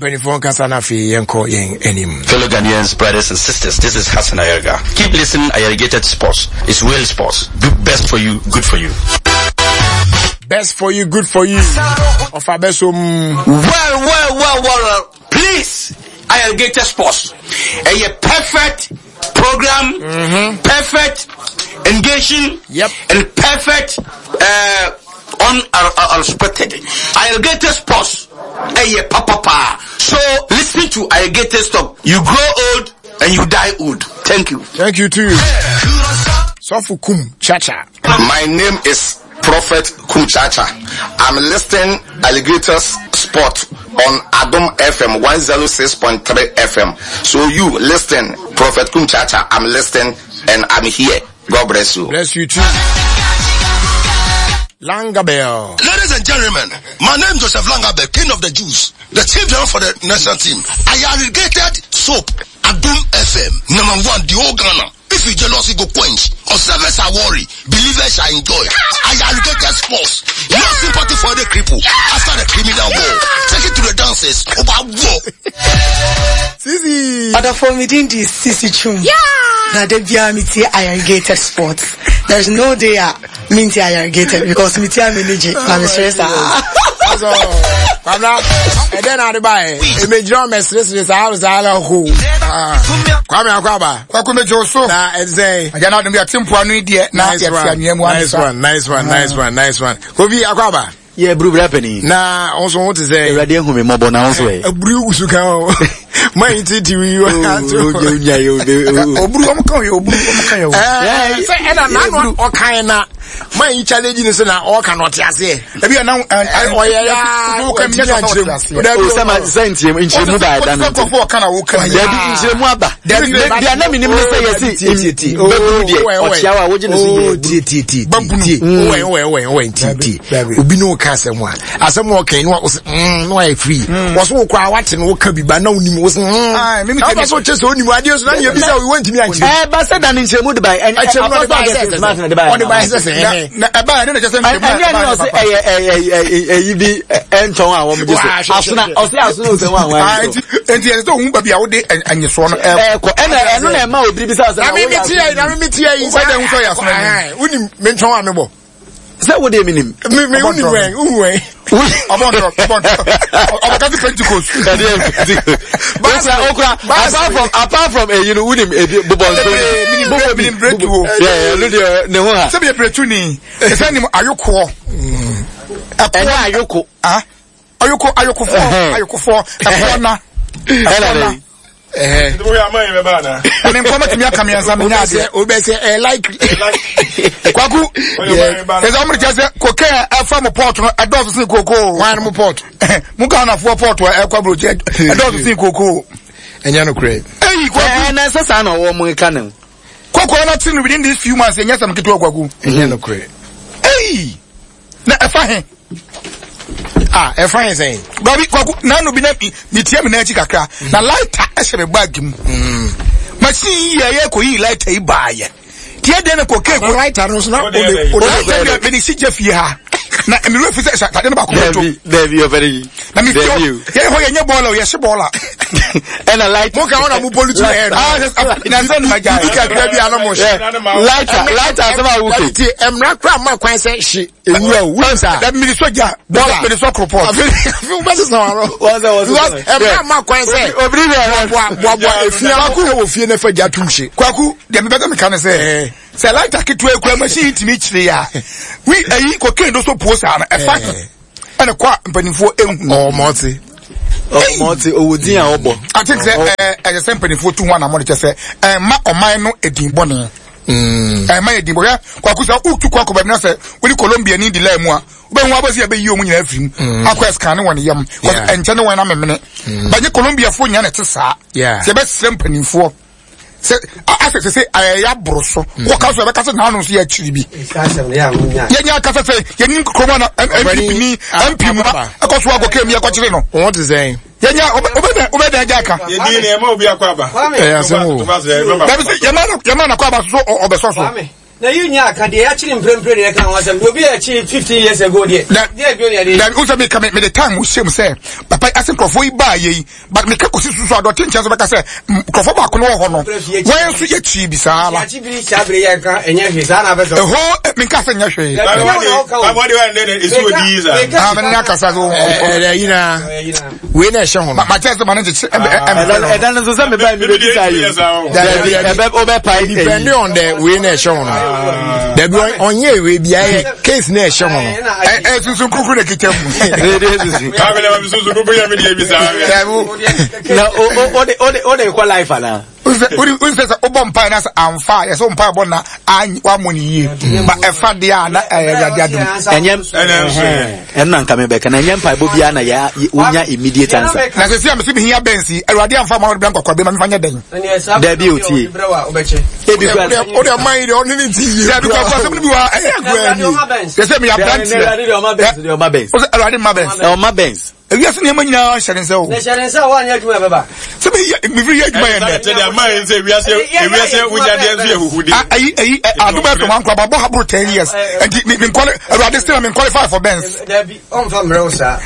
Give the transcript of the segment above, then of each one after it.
Mpanimfoɔ nkasa na afei yɛnkɔ yɛn anim. Fellow Ghanaians, brothers and sisters, this is Hassan Ayariga. Keep listening Ayarigated Sports. It's real sports. Do best for you, good for you. Best for you, good for you. Ɔfa bɛ so mu. Well, well, well, well, please, Ayarigated Sports. A perfect program, mm-hmm. perfect engaging, yep. and perfect uh, unexpected. Irrigated sports, eh, papa, pa. So listen to irrigated stop. You grow old and you die old. Thank you. Thank you too. Sofu Kum Chacha. My name is Prophet Kum Chacha. I'm listening Alligators Sport on Adom FM 106.3 FM. So you listen, Prophet Kum Chacha. I'm listening and I'm here. God bless you. Bless you too. Langabell. Ladies and gentlemen, my name is Joseph Langabell, king of the Jews, the chief general for the national team. I irrigated soap, Adum FM, number one, the whole Ghana. If you jealous, you go quench. Observers are worry. Believers shall enjoy. I irrigated sports. No sympathy for the cripple. After the criminal war. Take it to the dancers. Over war. Sisi. Adolfo Midindi Sisi Chum. Yeah. Na de bia mi tie irrigated sports. There's no day a mi ntie irrigated because mi tie mi ni na mi sere saa. Kwabra, ɛdɛn na ade baɛ? Ɛmɛgyina ɔmɛ seresere saa saa la ho. Kwame Akwaba. Kwaku mejo so. Na ɛsɛ. Agya na adum bi ate mpoano yi deɛ na yɛte anwea mu Nice one, nice one, nice one, nice one. Kofi Akwaba. Yɛ buru bra panin. Na wo nso ho te sɛ. Awurade ahu me mmɔbɔ na wo nso ɛ. Aburu wusu kan o. Ma yi titi wi wa. Oburu ɔmo kan yɛ oburu ɔmo kan yɛ o. Sɛ ɛna n'ano ɔkan na ma yi challenge ni so na ɔka na ɔte aseɛ. Ebi yɛ nan ɔyɛ ya ɔtumi ankyerɛ mu. Dabi sɛ ma sɛ nkyerɛ mu nkyerɛ mu ba ɛda no. Ɔte sɛ ɔka na ɔka. Dabi nkyerɛ mu aba. Dabi a na mi nim ne sɛ yɛsi bɛburu deɛ ɔkyia wa wogye ne so yɛ. Tie tie tie tie. Ɔwɛ ɔwɛ ɔwɛ ɔwɛ tie tie. Obi ne ɔka asɛm a asɛm a ɔka yi no ɔsɛ mm no ayɛ free. Wɔso wɔ koraa wate no wɔka bi ba na onim wɔsɛ mm. Na ɔbɛ so kyɛ sɛ onim adeɛ so na nea bisa wo wɔntumi ankyerɛ. Ɛɛ ba sɛ da ne nkyerɛ mu de ba ɛ ɛkyerɛ mu de ba sɛ sɛ ɔde ba sɛ sɛ ɛhɛn. Na ɛba yɛ ne na kyɛ sɛ nkyerɛ mu ɛne ɛne ɔsɛ ɛyɛ ɛyɛ ɛyi bi ɛntɔn a wɔn gye so asona ɔsɛ asona ɔsɛ wɔn a wɔn so. Nti ɛsɛ sɛ ohun baabi a wode anyesoɔ no ɛkɔ ɛna ɛno na ɛma obiri bisa sɛ na mi mi tie yi na mi mi tie yi. Wọ́n dẹ̀ ń sọ yà asona ni. Wọ́n mi ntɔn a mi bɔ. Sɛ wo deɛ menim. Mi mi wunim wɛn wuhu wɛn. Ɔbɔ ntɔ ɔbɔ ntɔ ɔbɛka ti Pentecost. Ɛdi yɛ Pentecost. Okura okura apart from apart from eyi no wunim ebi bobɔ nso. Bobɔ bi minim bretu o. Yɛ ɛnu deɛ ne ho ha. Sɛbi yɛ bretu ni ɛsɛ nim ayokoɔ. Ɛnyɛ ayoko. Ayoko ayokofoɔ ayokofoɔ ɛfoɔ na ɛfoɔ na. Ɛne nkɔmɔ tumi aka mmiɛnsa mi nya adeɛ. O bɛ sɛ ɛ like. Kwaku ɛsɛ ɔmo de kyɛ sɛ koke a ɛfa mo pɔt no ɛdɔɔso sin koko. Wɔn mo pɔt. Mo Ghanafoɔ pɔt a ɛkɔ aburokyi ɛdɔɔso sin koko. Ɛnyɛ no korɛ. Eyi kwaku. Ɛɛ na ɛsɛ saa na ɔwɔ mo ka ne ho. Koko na ti no within these few months ɛnyɛ sɛm ketewa kwaku. Ɛnyɛ no korɛ. Eyi. Na ɛfa he? Ah, ɛfa he sɛn? Babi, kwaku, nanu bi na metia me nan akyi kakra. Mm. Na lighter ɛhyɛ me bag mu. Mm. Machine yi yɛ yɛ kɔyi lighter yi baayɛ. Tiɛ deɛ na kɔ keeko. Na lighter no so na ode ode. Lighter bi mede si gya fie ha. Na mmerɛ fi sɛ atade no baako bɛto. Dabi ɔfɛre yi. Na me fie yɛ hɔ yɛnyɛ bɔɔla o yɛhye bɔɔla. Ɛna light. Mo ka wɔn na mo pollute yɛ no. Ah, na nsɛn na gya. Bibi kakra bi ano mo hye. Lighter lighter asɛm a woke. Ti mmara kura ma kwan sɛ hye ewura o wuli saa. Dabi mede sɔ gya. Bɔɔla mede sɔ koropɔt. Afi wo bɛ sisan wa rɔ. Because mmara ma kwan sɛ. Obiri bɛ boa boa boa efia kwaku wɔ fie ne fɛ gya tum hye. Kwaku deɛ mebɛ sɛ meka ne sɛ sɛ lighter ketewa ekura machine tumi kyerɛ ya wi ayi kokain do so puo saa no ɛfa ɛna kɔ a mpanimfoɔ ehu. Ɔmɔte. Ɔmɔte owó din a ɔbɔ. Ati sɛ ɛɛ ɛyɛ sɛ mpanimfoɔ tu ho anamɔ de kyɛ sɛ ɛma ɔman no edin bɔne. Ɛma yɛ din bɔ hwɛ kwaku sɛ wotu kɔ akɔ baabi na sɛ wone Colombia ni di line mu a wobɛhu abɛsi yɛbɛyi wɔn nyinaa afiri mu akɔ ɛskan ne wɔn yam ɛnkyɛ ne wɔn amemene bɛnyɛ Colombiafoɔ nyinaa na ɛte saa sɛ yɛbɛsrɛ mpanimfoɔ sɛ asɛ sɛ sɛ ɛyɛ aboro so mm. wɔka so yɛbɛka sɛ naano nso yɛ akyiri bi yɛnyɛ akasa sɛ yɛnim kurom ana mpp ni mp mu ɛkɔ so akɔ kɛm yɛkɔkyere no wɔn te sɛn yɛnyɛ wobɛdɛn agya aka ɛyɛ asɛm o dabi sɛ yɛma no akɔ aba so ɔbɛsɔ so. Na yi nyɛ aka deɛ yɛakyere mprempren na yɛka ho asɛm deɛ obi a yɛkyere 15 years ago deɛ deɛ bio ne yɛde. Dabi wosɛ meka me mede time hyɛ mu sɛ papa yi ase nkurɔfoɔ yi baa yɛ yi but meka kɔsi susu a dɔte nkyɛn so bɛka sɛ nkurɔfoɔ baako no wɔ hɔ no wɔn nso yɛkyii bi saa la. Yɛakyi bi saa bere yɛ nka ɛnyɛ hwee saa na abɛsɛ. Ɛhɔ menka sɛ nyɛ hwee. Ah mene ne akasa so. Ɛɛ yina wei na ɛhyɛ ho no. Ma kyerɛ sɛ ma ne nkyekye ɛmɛ ɛmɛ. Ɛda no nso sɛ meba mi bɛbi saa yi. Dabi ɛbɛ ɔbɛ pa yi. Depending on the wei na ɛhyɛ ho no. Dabi ɔnyɛ wei bi ayɛ case na ɛhyɛ ho no. Ɛ ɛ sunsun kurukuru na kita mu. Na o o o de o de o de kɔ life ana. Wosɛ sɛ wobɔ mpae na sɛ amfa a yɛsɛ wo mpae bɔ na wammɔ no yie ba ɛfa deɛ a na ɛyɛ awurade adom. Ɛnyɛ ɛno na nka mebɛka na ɛnyɛ mpaebɔ biara na yɛ wonya immediate answer. Na sɛ si a mese mehia bɛnsi awurade amfa ma wode bra nkɔkɔ bɛma mefa nyɛ dɛn. Dabi otie. Ebi kura. O de man yi de ɔne ne ti yie. Dabi kura kura sɛm bi wa ɛyɛ agorɔ ni. Yɛ sɛ meyɛ aberanteɛ. Ɔma bɛns. O sɛ awurade ma bɛns. Ɔma bɛns. Ewiase nneɛma nyinaa hyɛ ne nsa o. Na hyɛ ne nsa a woanyɛ adwuma ɛbɛba. Sɛ mi yɛ mefiri yɛ adwuma yɛ ndɛ. Kyɛ deɛ ama yɛn sɛ ewiase ewiase wogyadeɛ nso yɛ huhude. Ayi ayi adum ɛfɛ wɔn ankora bɔ haboro 10 years nti mi mi nkɔle awurade still mi qualify for Benz. Dabi ɔnfa mmerɛ wo saa.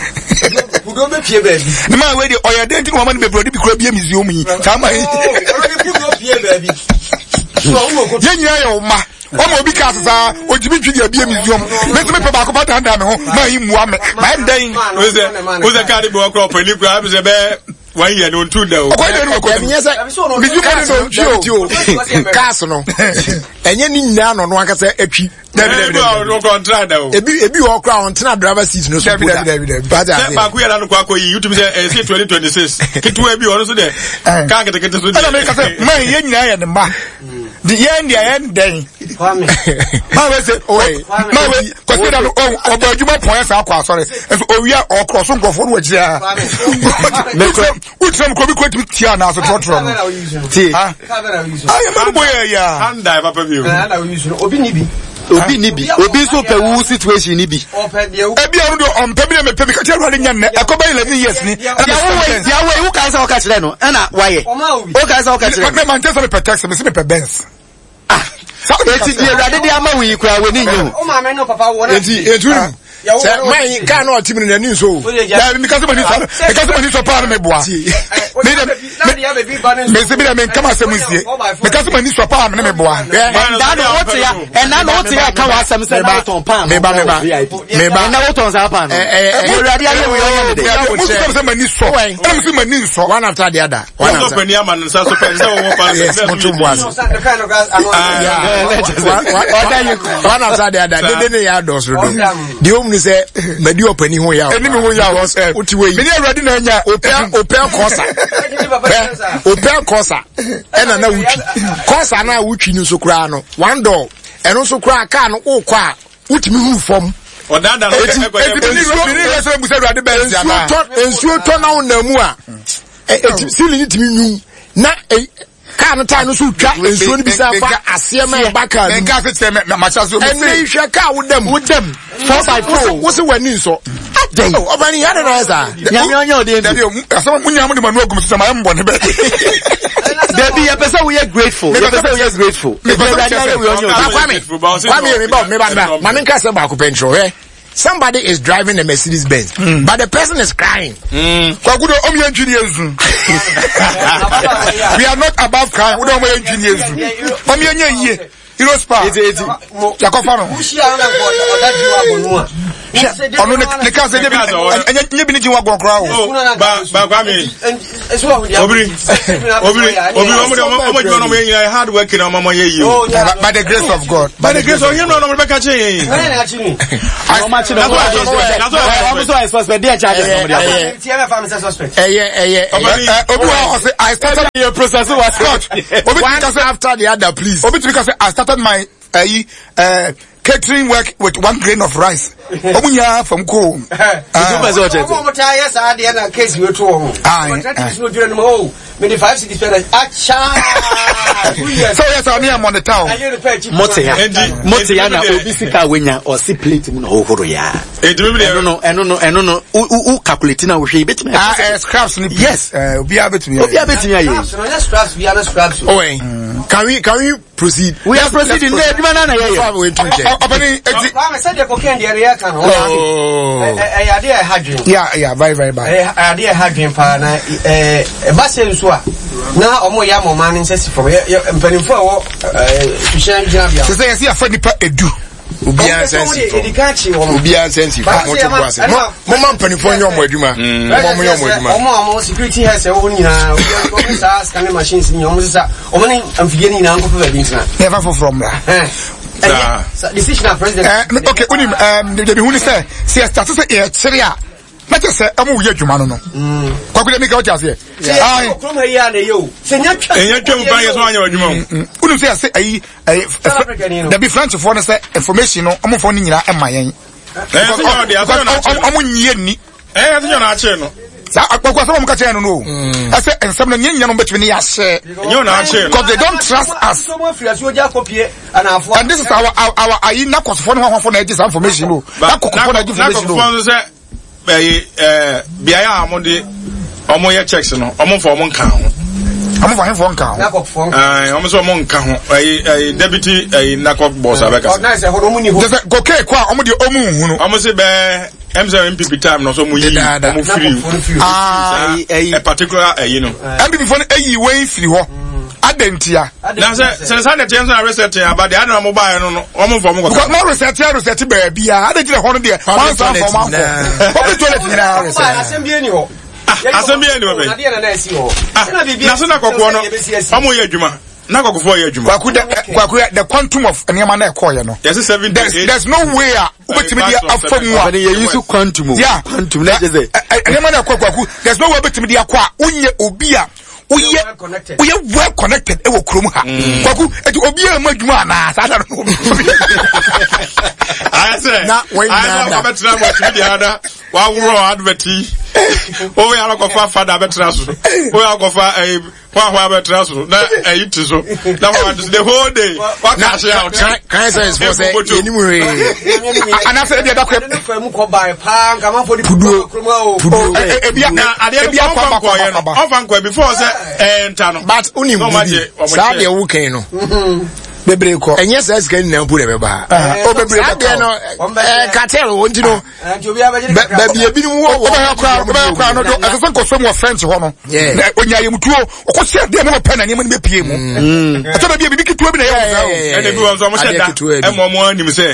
Kudo bɛ pie baabi. Ne maa wei deɛ ɔyɛ den ti na wɔn ama no bebree ɔde bi kura bie museum yi saa maa yi. Kudo pie baabi. Yɛn nyinaa yɛ ɔma. Wɔn obi kaa sesa otumi ntwi deɛ bie museum me nso mepɛ baako pa dandan me ho maa yi mua me maa yɛ dɛn. Wosɛ kaa de bi wɔ kora ɔpɛni kora ɛbi sɛ bɛɛ wɔn yɛ no ntu da o. Ɔkɔ yɛ no ɔkɔ ɛnyɛ sɛ museum no na ntwi o. Cars no ɛnyɛ ne nyinaa na ɔno ankasa atwi. Ebi ebi wɔ kora ɔntena driver seat no so po da. Sɛ baako yɛ n'ano kɔ akɔ yi youtube sɛ ɛsɛ 2026 ketewa bi ɔno so dɛ kaa ketekete so deɛ. Ɛna mi ka sɛ maa yɛ nyinaa yɛ ne mma. Di yɛn deɛ yɛn dɛn. Maa wei sɛ maa wei kwasi da no ɔbɔ adwuma pɔn yɛ saa akɔ asɔre nso owia ɔkorɔ so nkurɔfoɔ no wɔ akyire ha. Wokyerɛ mu kuro bi kuro tumi tia anaa so trɔtrɔ no. Tie. Ayɛ mɛ bɔ yɛ ya. Handa papa bi o. Obi ni bi. Obi ni bi. Obi nso pɛ wu situation ni bi. Ebi a ɔno deɛ ɔmpɛ bi na mepɛ bi ka kyerɛ awurade nya nnɛ ɛkɔ bɛ 11 years ni. Yawo yi wo kan sɛ ɔka kyerɛ no ɛna wayɛ. Wo kan sɛ ɔka kyerɛ no. Mɛ mante sɛ mepɛ taxi mese mepɛ Benz. Ah. Eti di awurade de ama wo yi koraa w'ani nye ho. Eti etu sɛ man kaa na ɔte mu no n'ani nso o. Dabi mi kasi ma ni sɔ mi kasi ma ni sɔ paa na mi bua. Mi dɛ mi si mi dɛ mi nkama asɛm nsie mi kasi ma ni sɔ paa mi ne mi bua. Ɛnna na o te ya ɛnna na o te ya ka wa asɛm sɛ na o tɔn paano. Meba meba meba. Ɛnna o tɔn saa paano. Ɛwurade ayɛ wo yɛ ɔnyɛ ne dɛ. Mo sɛ sɛ ma ni sɔ ɛna mi si ma ni nsɔ. One after the other. One after. Wọ́n ama ne nsa so pẹ́ sẹ́ wọ́n pa Yes, mo tún bu ase. One after the other. Dede ne yà dọ̀ soro do. Deɛ ɔmu ni sɛ madi ɔpani ho yaw. Ɛni mi ho yaw. O ti wɔ yi. Mi ni awurade na nya. Opɛ opɛ kɔsa. Pɛ opɛ kɔsa. Ɛna na wotwi. Kɔsa na wotwi no nso koraa no. One door. Ɛno nso koraa kaa no okɔ a wotumi hu fam. Ɔdaadaa no Eti eti mi ni mi ni yɛ sɛ musa awurade bɛn si ana. Nsuo tɔ na ɔnam mu a. Eti sili ni tumi nwum na kaa no taa no so twa nsuo no bi san fa aseɛ ma ɛba kaa no mu ɛnɛ yi hwɛ kaa wo dam wo dam 4x4 wo se w'ani nsɔ adɛn ɔba ni yɛade na ayɛ saa nyame ɔnyɛ ɔdeɛ dabi asɛm mo nyinaa mo de mo anu agum so sɛ mayɛ mbɔne bɛ dabi yɛpɛ sɛ woyɛ grateful yɛpɛ sɛ woyɛ grateful awurade ayɛ wei ɔnyɛ ɔdeɛ kwame kwame meba meba meba ma menka sɛ baako pɛ nkyerɛ hwɛ. Somebody is driving a Mercedes Benz, but the person is crying. Kwaku do omi entwi ni ezu. We are not above crying. We don't omi entwi ni ezu. Omi enye yie. Euro spa. Yakɔfa no. Ɔno ne kaa sɛ nye bi ne gye wa gɔn koraa o. Ba ba Kwame. Obiri obiri obiri ɔmo de ɔmo adwuma na ɔmo yɛ nyinaa hard work na ɔmo yɛ yie o. By the grace of God. By the grace of yɛn na ɔmo bɛ ka kyerɛ yɛn. Ɔmo akyi na ɔmo ɔmo so ayɛ suspect deɛ charges na ɔmo de abɔ. Ɛyɛ ɛyɛ ɛyɛ. Obi wa ɔsɛ I started. Yɛ process wa Scott. Obi tumi ka sɛ after the other please. Obi tumi ka sɛ I started my ayi catering work with one grain of rice. Ɔmo nyinaa fam ko. Ɔmo taa yɛ saa deɛ na case wei to wɔn. Ɔmo tɛ ti so dwere no mu o. Mede 5 cedis pɛ na akyaa 2 years. Sɛ woyɛ sɛ ɔne yɛ monitor o. Mote ya mote ya na obi sika a wanya ɔsi plate mu na ɔhohoro ya. Ɛno no ɛno no ɛno no wo wo calculate na wohwɛ yi betumi. Ah eh, scraps ni. Yes. Eh, obiara betumi ayɛ. Obiara betumi ayɛ. Scraps no nyɛ scraps biara scraps o. Oh, eh. Can we proceed? We are proceeding. Ne adwuma na na yɛ yɛ. Ɔpɛni eti. Kwame sɛ deɛ cocaine deɛ yɛ ka no. Ɛyɛ adeɛ a ɛha dwen. Yeah yeah very very bad. Ɛyɛ adeɛ a ɛha dwen paa na ɛɛ ɛba sɛ nso a na wɔn yɛ ama ɔman no nsa si fam yɛ yɛ mpanimfoɔ a ɛwɔ ɛɛ suhyɛn gyinabea. Sɛ sɛ yɛsi afa nipa edu. Obiara nsa nsi fam. Obiara nsa nsi fam. Mo to bo ase. Mo mo ma mpanimfoɔ nyɛ ɔmo adwuma. Mo ma ɔmo nyɛ ɔmo adwuma. Ɔmo a ɔmo security heads ɛwɔ hɔ nyinaa obiara ɔmo saa scanning machines nyinaa ɔmo sisa ɔmo ne mfidie no nyinaa nkɔpɛ baabi ntena. Ne ɛfa foforɔ mmra. Decision a president. Eh, okay, unim, debi hu ni sɛ, sɛ yɛ start sɛ yɛkyere a, na kyerɛ sɛ ɔmo yɛ adwuma no no. Kwaku deɛ mika wote aseɛ. Ɛnyɛ twam pa yɛ sɛ wanyɛ adwuma o. Wonim sɛ yɛsɛ ayi ayi dabi Frenchfoɔ no sɛ information no ɔmo fɔ no nyinaa ɛma yɛn. Ɔmo nyie nni. Ɛyɛ sɛ nyɛ akyere no. Saa akpɔkɔ asɛm ɔmo ka kyerɛ no no o. Ɛsɛ nsɛm no nyɛ nyɛ no bɛtumi ne yɛahyɛ. Nyɛ ɔna akyere no. Because they don't trust us. And this is our our our ayi nakɔsofo ne hɔhɔfo na ɛgye saa information no. Nakɔkɔfo na ɛgye information no. Nakɔkɔfo nso sɛ ɛyi ɛɛ beaeɛ a wɔn de wɔn yɛ checks no wɔn nfa wɔn nka ho. Wɔn fa ahemfo nka ho. Ɛɛ wɔn nso wɔn nka ho ɛyi ɛyi deputy ɛyi nakɔ boss abɛka. Kyɛ sɛ kokain kɔ a wɔn deɛ wɔn nhunu. Wɔn se bɛɛ ɛm sɛ NPP time no so wɔn yi wɔn firi. Aa ɛyi a particular ɛyi no. NPP fo no ɛyi wei firi hɔ. Adantia. Na sɛ sɛ saa na ɛteɛ nso na reset aba deɛ adana mo baeɛ no no wɔn mfa wɔn kɔka. Because mo reset ya reset baabi a adan gyina hɔ no deɛ wɔn nsa nfa wɔn ankɔ. Public toilet nyinaa reset. Asɛm bi ni hɔ. Asɛm bi ni hɔ bɛyi. Ah na so na kɔkɔɔ no wɔn yɛ adwuma na kɔkɔfoɔ yɛ adwuma. Kwaku the kwaku the quantum of nneɛma na ɛkɔɔ yɛ no. Yɛsi 78. There's no way a wobɛtumi de afa mu a. Ɔbɛn yɛ yi so quantum o. Yeah. Quantum na kyerɛ sɛ. Nneɛma na ɛkɔ kwaku there's no way wobɛtumi de akɔ a wonyɛ obi a woyɛ woyɛ well connected ɛwɔ kurom ha mm. kwaku eti obiara mu adwuma anaa saa da no ayɛ sɛ ayɛ sɛ wabɛtena mu ɔtumi deɛ ada waworɔ advert yi woyɛ alakɔfa fada abɛtena so woyɛ akɔfa ɛyi hwahwa abɛtena so na ɛyi ti so na hwahwa ti so the whole day waka ase out. kan sɛ ɛsɛ sɛ yɛnim hwee anaasɛ ebi ɛda kɔ puduo puduo ebi ebi akɔ aba kɔ aba ɔfa nkɔ before sɛ ɛnta no. but wonim bibi saa deɛ wo kɛn no bebree kɔ ɛnyɛ saa sika nyinaa mpo na ɛbɛba o bebree saa deɛ no ɛɛ cartel wɔ nti no baabi ebinom wɔ wɔ wobɛyɛ koraa wobɛyɛ koraa no do ɛsɛ sɛ nkɔsɔ mu wɔ french hɔ no na onya ayɛmutuo ɔkɔ sɛ adeɛ mu pɛ na nneɛma no bɛpie mu ɛtɔ da bi a biribi ketewa bi na ɛyɛ wɔn saa o ɛna bi wɔn nso wɔn hyɛ da ɛma wɔn anim sɛ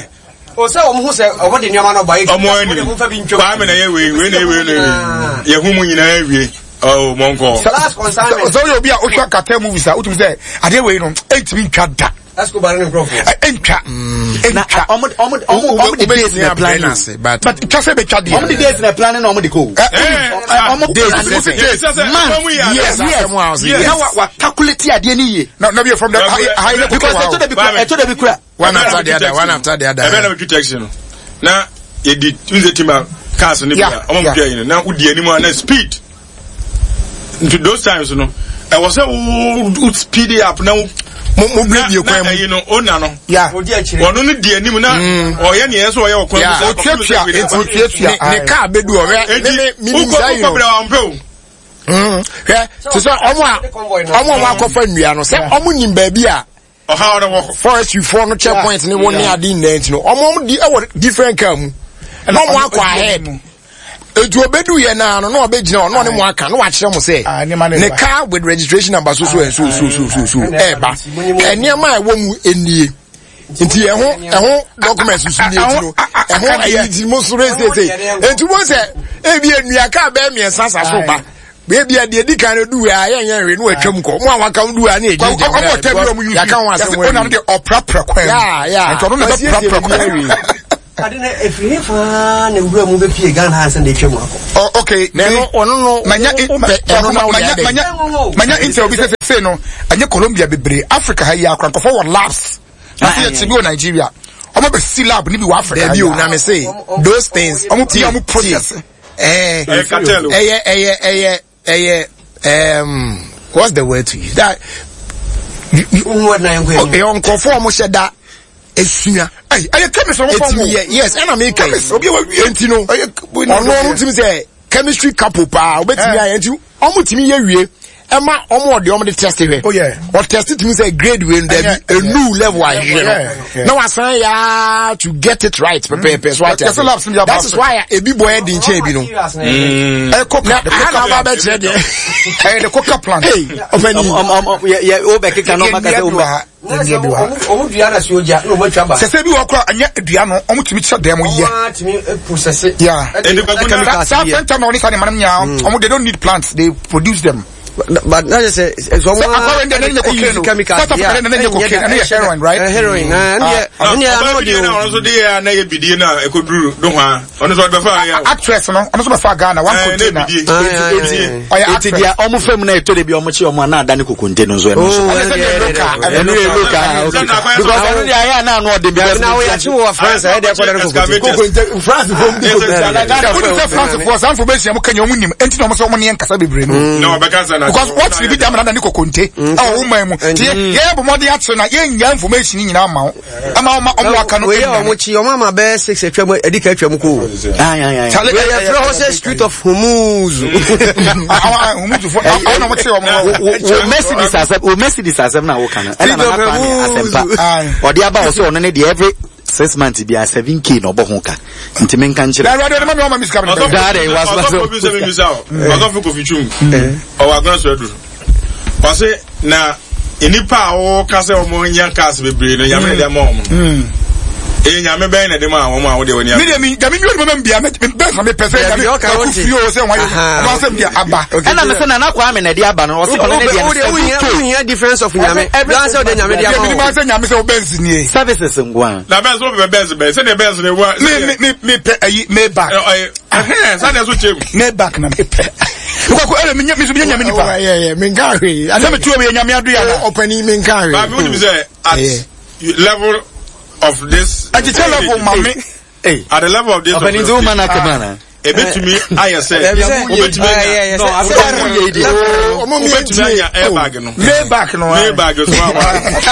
o sɛ wɔn ho sɛ wɔn de nneɛma no ba yɛ wɔn anim kwame na yɛ wei wei na yɛ wei na yɛ wei yɛ hu mu nyinaa wie ɔɔ mɔnkɔ. Sɛ woyɛ obi a wohwɛ cartel movies a wotumi sɛ adeɛ wei no ɛntumi ntwa da Escobar ne nkurɔfoɔ. Ɛntwa. Ɛntwa. Ɔmo ɔmo ɔmo ɔmo de days na plan ase but. But twa sɛ bɛtwa deɛ. Ɔmo de days na plan na ɔmo de ko. Ɔmo days sɛ sɛ months years years. Na wa wa calculate adeɛ ni yie. Na na bi from the high level. Because ɛtɔ da bi kura ɛtɔ da bi kura. One after the other one after the other. Ɛbɛn na mi twi taxi no na yɛ di n sɛ timba cars ni bi a ɔmo mi twi ayi no na o di anim a na speed. Nti those times no ɛwɔ sɛ wo wo speed up na wo. Mo mo bere bie kwan mu. Na ɛyi no o na no. Ya. Ɔno no di anim na ɔyɛ nea ɛsɛ ɔyɛ wɔ kwan mu. Otuatua otuatua. Ne kaa bɛ du ɔhwɛ ne ne mi nim saa yi no. Wokɔ bere a ɔmpɛ o. Hwɛ te sɛ ɔmo a ɔmo a ɔmo akɔfa nnua no sɛ ɔmo nim baabi a. Ɔhaw no wɔ. Forestry foɔ no check point ne wɔn ne ade nyinaa nti no ɔmo ɔmo di ɛwɔ different car mu na ɔmo akɔ ahead etu obedu yɛ naa no na ɔbɛgyina hɔ na ɔne mo aka na wakyerɛ mo sɛ ne car with registration number so so and so so so so so ɛɛba nneɛma a ɛwɔ mu nie nti ɛho ɛho documents nso nie ti no ɛho ɛyi ti mo so sese nti mo sɛ ebi enua car bɛɛ mmiɛnsa sa so ba. Baabi a deɛ di kan no du a yɛn yɛn hwee no atwam kɔ mo a waka du a ne yɛ gyina gyina ɔmo ɔtɛ bi ɔmo yusu yɛaka ho asɛm wɔ ɔno deɛ ɔprapra kwan mu ya nti ɔno na bɛprapra kwan mu ade na efiri he faa na wura mu bɛpie Ghana ha sɛ na etwa mu akɔ. Oh, okay. Na ɛno ɔno no manya wopɛ ɛno na wode adɛ. Manya manya intel bi sɛ sɛ no ɛnyɛ Colombia bebree Africa ha yi akora nkɔfɔ wɔ labs. Na sɛ yɛte bi wɔ Nigeria. Ɔmo bɛ si lab ni bi wɔ Africa. Dabi o na me say those things. Ɔmo pia ɔmo process. Ɛyɛ ɛyɛ ɛyɛ ɛyɛ ɛɛm. What's the word to use? That you nkurɔfoɔ a wɔhyɛ da esua. Ɛyɛ chemist wɔn fɔm o. Yes, ɛna mi kɛ. Chemist obi wa wie. Nti no, ɔno ɔno timi sɛ chemistry couple paa obetumi ayɛ nti ɔmo timi yɛ wie ɛma ɔmo ɔde ɔmo de test hwɛ. Ɔtest timi sɛ grade wei no dɛbi enu level ahwehwɛ no na wasan yaa to get it right pɛpɛɛpɛ so ate ase. That is why ebi bɔ yɛ di nkyɛn ebi no. Ɛkɔ na aha na ɔba bɛkyerɛ deɛ. Ɛyɛ the coca plant. Ɔfɛni. O bɛ keka na ɔma kasa o ma. Ɔmo dua na si ogya na ɔmo atwa ba. Sɛsɛ bi wɔ kora ɛnyɛ dua no ɔmo tumi kyerɛ dɛm yɛ. Ɔmo atumi process. Yeah. Saa fentanyl ne saa ne manam nyinaa ɔmo they don't need plants they produce them. But na sɛ sɛ ɔmo akɔrɔ ndɛ ne nyɛ cocaine o South Africa ne nyɛ cocaine ɛno yɛ heroin right. Heroin na ɛne ɛne ano de o. Ɔno nso de yɛ a na yɛ bidie na ɛkɔduru do hɔ a ɔno nso ɔde bɛfa yɛ. Actress no ɔno nso bɛfa Ghana one container. Ɔyɛ actress. Eti deɛ ɔmo fam na ɛtɔ de bi ɔmo kye ɔmo a na ada ne kokonte no nso ɛno nso. Ɛno yɛ local okay because ɛno deɛ ayɛ a na ano ɔden because. Na wɔyɛ akyi wɔ France ɛyɛ deɛ ɛkɔda ne kokonte. Kokonte France fo mu di kokonte ana Ghana fo. Wọ́n sɛ France fo saa information mo kanya ɔmo nim enti na ɔmo sɛ ɔmo ne yɛn kasa bebree no. Na ɔbɛka sɛ na. Because what bi dam na ne kokonte ɛwɔ wo man mu ti yɛ yɛ bɔ mɔden akyerɛ na yɛn nya information nyinaa ma wo ɛma ɔma ɔmo aka no. Wei yɛ ɔmo kyi ɔmo ama bɛyɛ six atwa mu ɛdi ka atwa mu ko. Wei yɛ fira hɔ sɛ street of Hormuz. Hormuz fo ɔmo na ɔmo kye ɔmo. Wo Mercedes asɛm wo Mercedes asɛm na woka no ɛna nana kwame asɛmpa ɔde aba wɔ sɛ ɔno ne deɛ every 6 months bia 7k na ɔbɔ ho ka nti menka nkyerɛ. Na awurade ɔde ma mi ɔma mi sika mi. Daa de wa so ɔsɔfo bi sɛ mi bisa o ɔsɔfo Kofi Twum ɔwɔ agona so aduru ɔse na nnipa a wɔka sɛ wɔn nya cars bebree no nyame na ɛde ama wɔn no ɛyɛ nyame bɛn na ɛde ma wɔn a wɔde wɔn ani mi de mi nyame mi ɔde ma bia mi bɛn sa mi pɛ sɛ nyame ɔkò firi o sɛ wɔn ayɛ ɔmo asɛm di aba. Ɛna mi sɛ nana Kwame na ɛde aba no ɔse ɔno ne deɛ no 7k. Wohia difference of nyame. Bia sɛ wode nyame de ama wo. Mi sɛ nyame sɛ wo Benz nie. Services nkoa. Na Benz wo pɛ Benz bɛn sɛdeɛ Benz ne wa. Mi mi mi mi pɛ ayi Maybach. Ɛhɛn sɛdeɛ so kyɛm. Maybach na mi pɛ. Nkɔkɔ ɛlɛ mi nye mi so mi nye nyame nipa. Yɛ yɛ mi nka hwee. Sɛ mi tuo mi yɛ nyame ado yɛ ana. Ɔpɛni mi nka hwee. Ba mi wunim sɛ at level of this. Ɛkyekyɛ level ma mi. At the level of this. Ɔpɛni nti wo ma na kɛmɛ ana. Ebetumi ayɛ sɛ wobetumi anya wobetumi anya airbag no. Maybach no. Maybach so wa wa.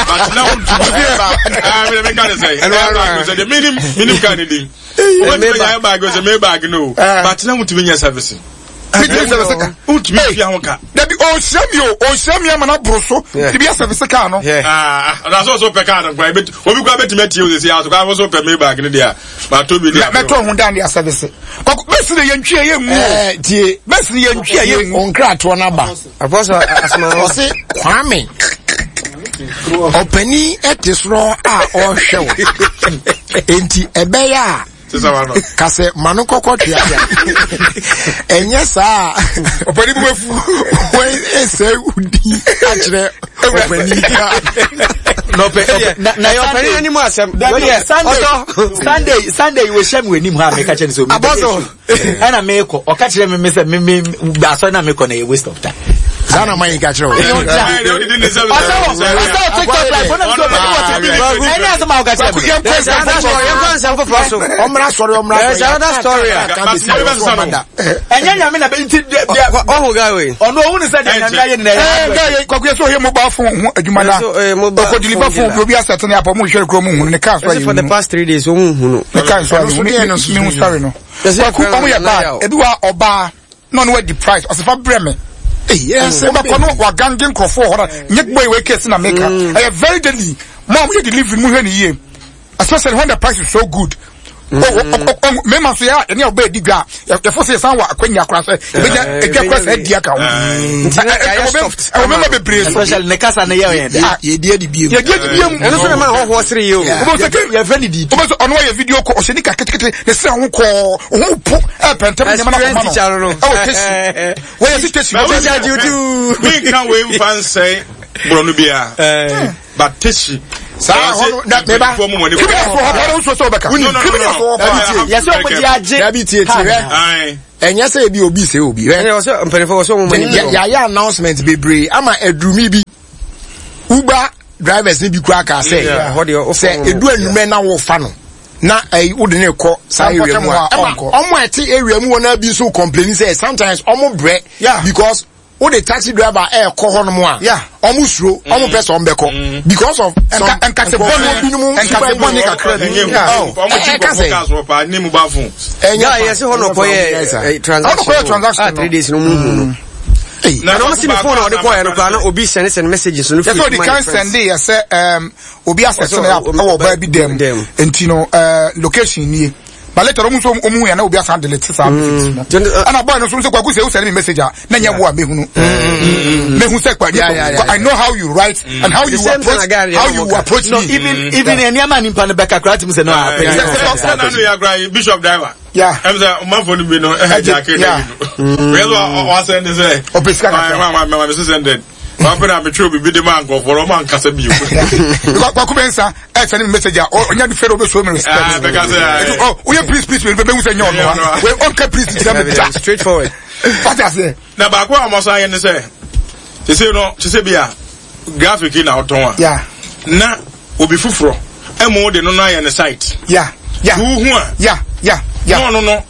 But na wontumi airbag. Ah mi mi ka ne sɛ airbag sɛ de minim minim ka ne din. Wobetumi anya airbag sɛ Maybach no. But na wontumi nyɛ service. Mitumi service ka. Wontumi ntua ho ka. Dabi ɔnhyia mi o ɔnhyia mi ama na boro so. Ebi asɛvise kaa no. Ah na so so pɛ kaa no nkwa ebi obi kura betumi atie o sisi aso kura so pɛ Maybach no deɛ ma to bi deɛ. Mɛtɔ ho dan de asɛvise. Kɔkɔ bɛsi de yɛn twi yɛ ngu o. Tie bɛsi de yɛn twi yɛ ngu. Nkratoɔ n'aba. Apɔsɔ asoma. Ɔse Kwame ɔpanin ɛte soro a ɔrehwɛ wo enti ɛbɛyɛ a. Kasɛ ma no kɔkɔ tweatea ɛnyɛ saa ɔpani bi wafu wɔn ɛsɛ wodi akyerɛ ɔpani na yɛ ɔpani anim asɛm Sunday Sunday wɔ hyɛ mi wɔ anim ha meka kyerɛ ne sɛ omi abɔso ɛna mekɔ ɔka kyerɛ me sɛ me me asɔre na mekɔ na yɛ waste of time. Saa na mayɛ ka kyerɛ wo. Ɔsɛ wɔ ɔsɛ wɔ TikTok live ɔnam sɛ ɔpɛ wɔ TikTok ɛne asɛm a ɔka kyerɛ me. Yɛnkɔ nsɛm foforɔ so. Ɔmmra sɔre ɔmmra sɔre. There's another story. Ɛnyɛ nyame na bɛ nti ɔho guy wei. Ɔno ohun sɛ deɛ nyame ayɛ nyinaa yɛ. Guy yɛ kwaku yɛ sɛ ɔyɛ mobile phone ho adwuma na ɔkɔ deliver phone bi obi asɛte ne apɔ mu nhwɛ kuro mu hunu ne car so ayɛ for the past 3 days ɔmu hunu. Ne car so ayɛ hunu mi hu sorry no. Kwaku ɔmo yɛ bad ebi wa ɔbaa na ɔno wadi price ɔsɛ fa brɛ me. Wobɛkɔ no wagange nkurɔfoɔ hɔ na nyɛ boy wei case na meka ɛyɛ very deadly mo a moyɛ delivery mo hwɛ ne yie especially when the price is so good. Mmarima nso yɛ a ɛne a ɔbɛyɛ di dwa a yɛfo sɛ yɛsan wɔ akwanya koraa sɛ ɛbɛnya adwa koraa sɛ adi aka ho ɛwɔ mmarima bebree so especially ne kasa ne yɛ yɛn dɛ yɛdi adi biem yɛdi adi biem ɛno nso na ma ahɔhoɔ sere yɛ o yɛfrɛ ne di wobɛ sɛ ɔno ayɛ video kɔ ɔhyɛ nika ketekete ne srɛ ho kɔɔ ho po ɛpɛntɛm nneɛma no akoma no ɛwɔ tesi wɔyɛ si tesi menka wei mfa nsɛe borɔno biara but tesi saa hɔ no na meba criminals wɔ hɔ paa nso sɛ ɔbɛka criminals wɔ hɔ paa yɛsɛ ɔmo de agye dabi tie tie hwɛ ɛnyɛ sɛ ebi obi sɛ obi hwɛ ɛnyɛ mpanyinfoɔ wɔ sɛ ɔmo mani yɛayɛ announcement bebree ama adurumi bi uber drivers ne bi kura kaa sɛ sɛ edu anumɛ na wɔfa no na ɛyi wode ne kɔ saa area mu a ɛma ɔmo a ɛte area mu wɔ na bi nso complain sɛ sometimes ɔmo brɛ because. Wode taxi driver ɛɛkɔ hɔ nom a, ɔmo suro, ɔmo pɛ sɛ ɔmo bɛkɔ because of some nkate nkurɔfoɔ binom nkate bɔne kakra bi. Ɛka sɛ ɛnyɛ yɛ sɛ hɔ na ɔkɔyɛ transaction ah 3 days no mu hu no. Na ɔmo si ne phone a ɔde kɔɛ no koraa na obi send send messages no firi my friends. Yɛ sɛ ɔde kan send yɛ sɛ obi asɛte ne app ɛwɔ ɔbaa bi dɛm nti no location nie. But later ɔmo nso ɔmo hu yɛ na obi asan delete saa message no. Ɛna boy no nso sɛ Kwaku sɛ o send me message a na nyɛ wo a mehunu. Mehu sɛ kwa I know how you write and how you approach how you approach no, me. Even even nneɛma nipa no bɛka koraa tumi sɛ no a. Sɛ na no yɛ akora bishop driver. Yeah. Ɛm sɛ ɔmanfo no bi no ɛhɛ gya ke na bi no. Wei so wasɛn de sɛ. Ɔpɛ sika kakra. Maa maa maa mi six hundred. Maa pɛ na mi twerɛ bibi de maa nkurɔfoɔ no ɔmo ankasa bio. Because Kwaku Mensah ɛ send me message a ɔnya de fɛrɛ o bɛ so mi respect. Ah bɛka sɛ. Ɔ o yɛ please please bɛ bɛ n sɛ nyɛ ɔno wa. Wei ɔnka please kyerɛ mi da. Straight forward. Wate aseɛ. Na baako a ɔmo san yɛ ne sɛ sese no sese bi a graphic yi na ɔtɔn a. Yeah. Na obi foforɔ ɛmo de no no ayɛ ne site. Yeah. Yeah. Tuuhu a. Yeah. Yeah. Yeah. Na ɔno no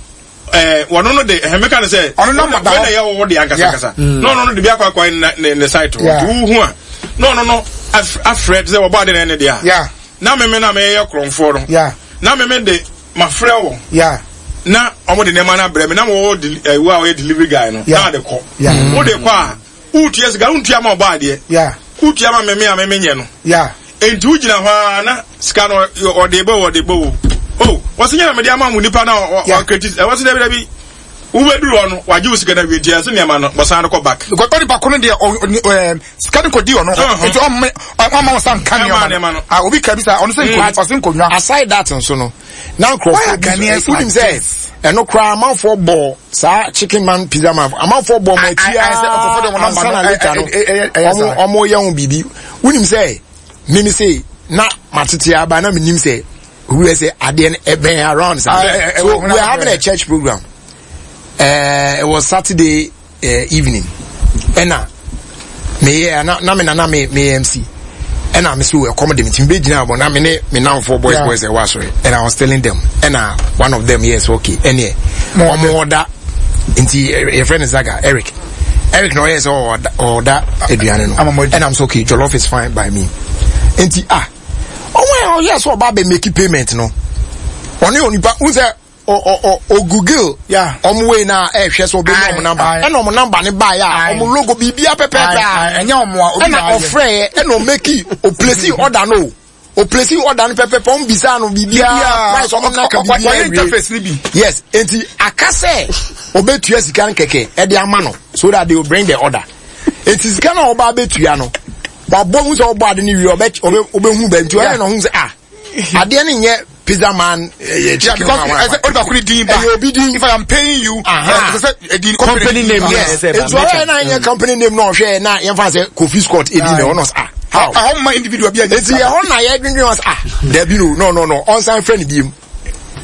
ɛɛ wɔn no de ɛhɛn meka ne sɛ. Ɔno number da hɔ. Wɛn na ɛyɛ wɔwɔ de ankasa ankasa. Na ɔno no de bi akɔ akɔ ne ne site hɔ. Tuuhu a na ɔno no afrɛ sɛ wɔbɔ ade na ɛne deɛ a. Yeah. Na meme na meyɛ korɔmfoɔ no. Yeah. Na meme de mafrɛ wɔn. Yeah. Na wɔn de nneɛma no abrɛ me na wɔwɔ deli ɛwɔ a ɔyɛ delivery guy no. Yeah. Na ade kɔ. Yeah. Wode kɔ a wotua sika wontua ma ɔbɔ adeɛ. Yeah. Wotua ma meme a meme nyɛ no. Yeah. Enti wogyina hɔ ara na sika no ɔde bɔ ɔde bɔ o. Oh, wɔsi nyɛ na mede ama mo nipa na ɔkreti ɛwɔ sɛ dabi dabi wobɛduru hɔ no wagye wo sika no awie nti ɛsɛ nneɛma no bɔsan no kɔ back. Because onipa ko no deɛ ɔ sika no kɔdi ɔno hɔ nti ɔmme ɔmma wo sa nka nneɛma no. Ah, obi ka bi sa ɔno sɛ nkonnwa ɔse nkonnwa. Aside that nso no, na nkurɔfoɔ bi nso wonim sɛ ɛno koraa amanfoɔ bɔ saa chicken man pizza man amanfoɔ bɔ ɔmo akyi aa ansa na later no ɔmo ɔmo yɛ ho biribi wonim sɛ mimi se na matete aba na menim sɛ obi bɛ sɛ adeɛ no ɛbɛn around saa so we are having a church program uh, it was Saturday evening ɛna meyɛ na na me nana me me MC ɛna me so ɛkɔm de me ti me bɛ gyina abɔ na me ne me nanfoɔ boys boys ɛwɔ asɔre and I was telling them ɛna one of them yes okay ɛneɛ wɔn ɔda nti yɛfrɛ no Zaga Eric Eric na ɔyɛ sɛ ɔda ɔda aduane no ɛna I'm so okay jollof is fine by me nti ah ɔwɔ yɛ ɔyɛ sɛ ɔba abɛ make payment no ɔne onipa n sɛ o google ɔmo wei na ɛhwɛ sɛ ɔbɛnya ɔmo namba ɛna ɔmo namba ne baeɛ a ɔmo logo biribia pɛpɛɛpɛ a ɛna ɔfrɛɛ ɛna ɔmeki ɔplesi ɔda no ɔplesi ɔda no pɛpɛpɛ ɔmo bisa no biribia price ɔmo naka biribia wie yes enti aka sɛ ɔbɛtua sika no kɛkɛ ɛde ama no so that they will bring the order enti sika no a ɔba abɛtua no wabɔ hu sɛ ɔbɔ ade no wie ɔbɛ ɔbɛhu bɛ nti ɔyɛ na ɔhu sɛ ah adeɛ no nyɛ pizza man ɛyɛ chicken man wa ɛsɛ onipa koro din ba ɛyɛ obi din if I am paying you ɛsɛ sɛ ɛdin company name yes nti ɔyɛ na nyɛ company name na ɔhwɛ na yɛn fa sɛ Kofi Scott ɛdi na ɔnɔ sɛ ah how ɛhɔ ma individual bi a nti ɛhɔ na yɛ dwendwen ɔsɛ ah dabi no no no no ɔnsan fɛ ne biem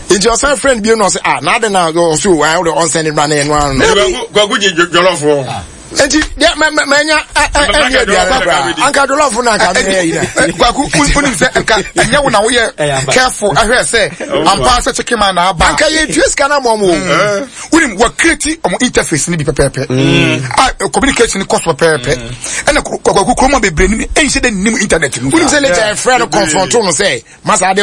nti ɔsan fɛ ne biem na ɔsɛ ah na adi na ɔsɛ o ayɛ ɔnsɛn ne ba na ɛno ano no. Kwaku gye jɔlɔfo. Nti deɛ mɛ mɛ mɛ nya ɛni aduane koraa anka jollof na anka mi yɛ yi na. Kwaku wonim sɛ nka ɛnyɛ wo na woyɛ careful ahwɛ sɛ ampa sɛ chicken man na aba. Anka yɛ tua sika na mɔ mo. Wonim wɔ create ɔmo interface ni bi pɛpɛɛpɛ. A communication kɔ so pɛpɛɛpɛ. Ɛna kwaku kuroma bebree nim ɛnhyɛ dɛ nim internet no. Wonim sɛ later ɛfrɛ no confront no sɛ masa ade.